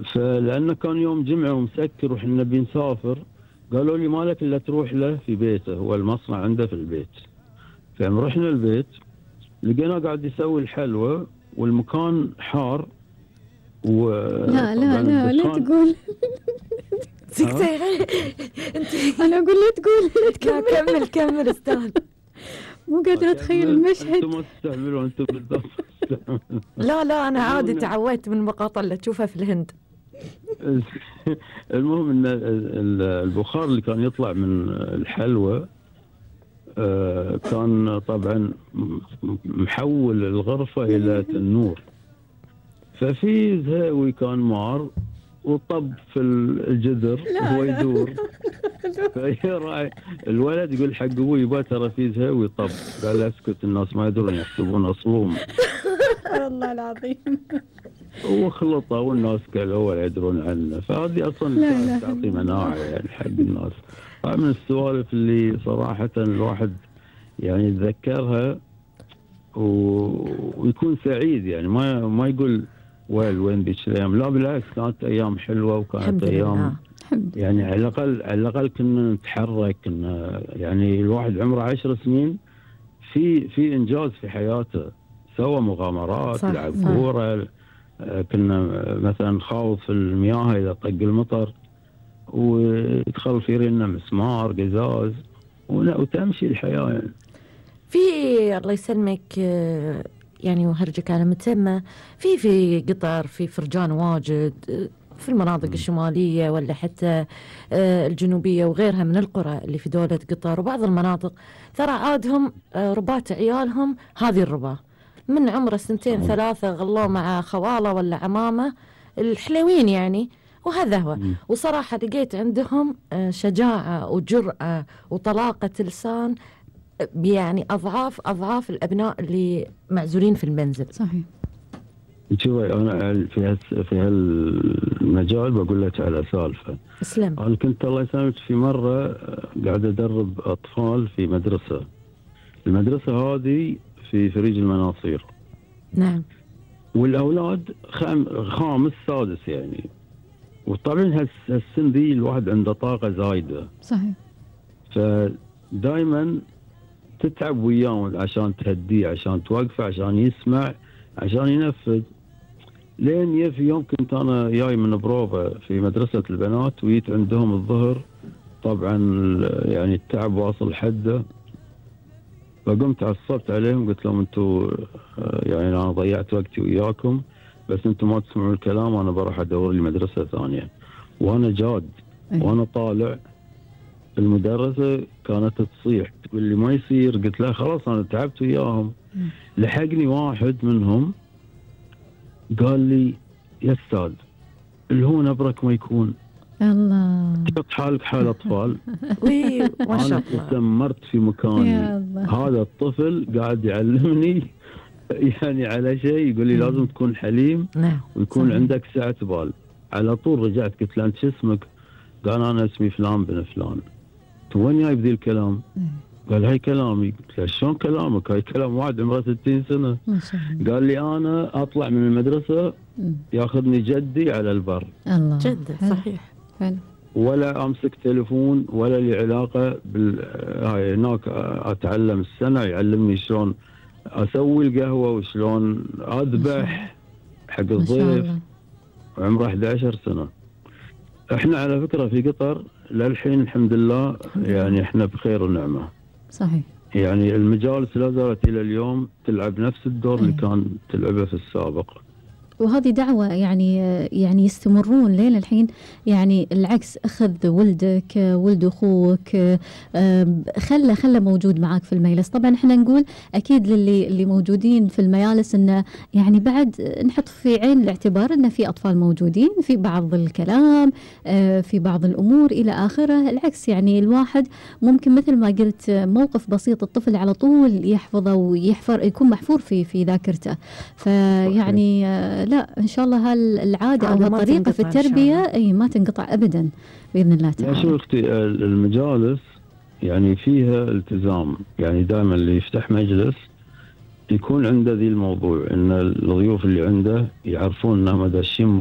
فلأنه كان يوم جمعة ومسكر وحنا بنسافر، قالوا لي مالك إلا تروح له في بيته، هو المصنع عنده في البيت. رحنا البيت لقينا قاعد يسوي الحلوى والمكان حار. لا لا لا لا تقول. انت انا اقول لا تقول، لا تكمل. لا كمل استاذ. مو قادرة اتخيل المشهد. انتم ما تستهبلوا انتم بالضبط. لا انا عادي تعودت من المقاطع اللي تشوفها في الهند. المهم ان البخار اللي كان يطلع من الحلوى كان طبعا محول الغرفة الى تنور، ففي زهاوي كان مار وطب في الجدر وهو يدور. الولد يقول حق ابوي يبا ترى في زهاوي طب، قال اسكت الناس ما يدرون يحسبون اصلهم. والله العظيم. وخلطه والناس قالوا ولا يدرون عنه، فهذه اصلا تعطي مناعه يعني حق الناس. من السوالف اللي صراحه الواحد يعني يتذكرها ويكون سعيد، يعني ما يقول وين بيش الايام، لا بالعكس كانت ايام حلوه وكانت ايام يعني على الاقل كنا نتحرك، كنا يعني الواحد عمره 10 سنين في انجاز في حياته، سوى مغامرات، لعب كوره، كنا مثلا نخاوض في المياه اذا طق المطر ويدخل في رينا مسمار قزاز وتمشي الحياه يعني. في الله يسلمك يعني وهرجك على متسمى في قطر، في فرجان واجد في المناطق الشمالية ولا حتى الجنوبية وغيرها من القرى اللي في دولة قطر وبعض المناطق، ترى عادهم ربات عيالهم هذه الربا من عمر 2 3 غلوه مع خواله ولا عمامة الحلوين يعني، وهذا هو. وصراحة لقيت عندهم شجاعة وجرأة وطلاقة لسان يعني أضعاف الأبناء اللي معزولين في المنزل. صحيح. شوفي أنا في هالمجال بقول لك على سالفة. اسلم. أنا كنت الله يسلمك في مرة قاعد أدرب أطفال في مدرسة، المدرسة هذه في فريج المناصير. نعم. والأولاد خامس سادس يعني، وطبعا هالسن ذي الواحد عنده طاقة زايدة. صحيح. فدائما تتعب وياهم عشان تهديه، عشان توقفه، عشان يسمع، عشان ينفذ. لين في يوم كنت أنا جاي من بروفة في مدرسة البنات وجيت عندهم الظهر، طبعا يعني التعب واصل حده، فقمت عصبت عليهم قلت لهم انتم يعني انا ضيعت وقتي وياكم، بس انتم ما تسمعون الكلام وانا بروح ادور لي مدرسه ثانيه. وانا جاد وانا طالع المدرسه كانت تصيح تقول لي ما يصير، قلت لها خلاص انا تعبت وياهم. لحقني واحد منهم قال لي يا استاذ اللي هو نبرك ما يكون، الله تحط حالك حال اطفال. ما شاء الله. انا تسمرت في مكاني. هذا الطفل قاعد يعلمني يعني على شيء، يقول لي لازم تكون حليم ويكون عندك سعة بال. على طول رجعت قلت له انت شو اسمك؟ قال انا اسمي فلان بن فلان. وين جايب ذي الكلام؟ قال هاي كلامي. قلت له شلون كلامك؟ هاي كلام واحد عمره 60 سنه. ما شاء الله. قال لي انا اطلع من المدرسه ياخذني جدي على البر. الله. جده صحيح. حلو. ولا امسك تليفون ولا لي علاقه هاي هناك اتعلم السنه، يعلمني شلون اسوي القهوه وشلون اذبح حق الضيف. عمره 11 سنه. احنا على فكره في قطر للحين الحمد لله يعني احنا بخير ونعمه. صحيح. يعني المجالس لا زالت الى اليوم تلعب نفس الدور اللي كان تلعبه في السابق. وهذه دعوة يعني يستمرون لين الحين، يعني العكس أخذ ولدك ولد أخوك خلى موجود معاك في المجلس. طبعا احنا نقول أكيد اللي موجودين في المجالس إنه يعني بعد نحط في عين الاعتبار إنه في أطفال موجودين في بعض الكلام في بعض الأمور إلى آخره. العكس يعني الواحد ممكن مثل ما قلت موقف بسيط الطفل على طول يحفظه ويحفر يكون محفور في ذاكرته. فيعني لا إن شاء الله هالعادة أو هالطريقة في التربية أي ما تنقطع أبدا بإذن الله تعالى. شو أختي المجالس يعني فيها التزام، يعني دائما اللي يفتح مجلس يكون عنده ذي الموضوع إن الضيوف اللي عنده يعرفون أنهم داشين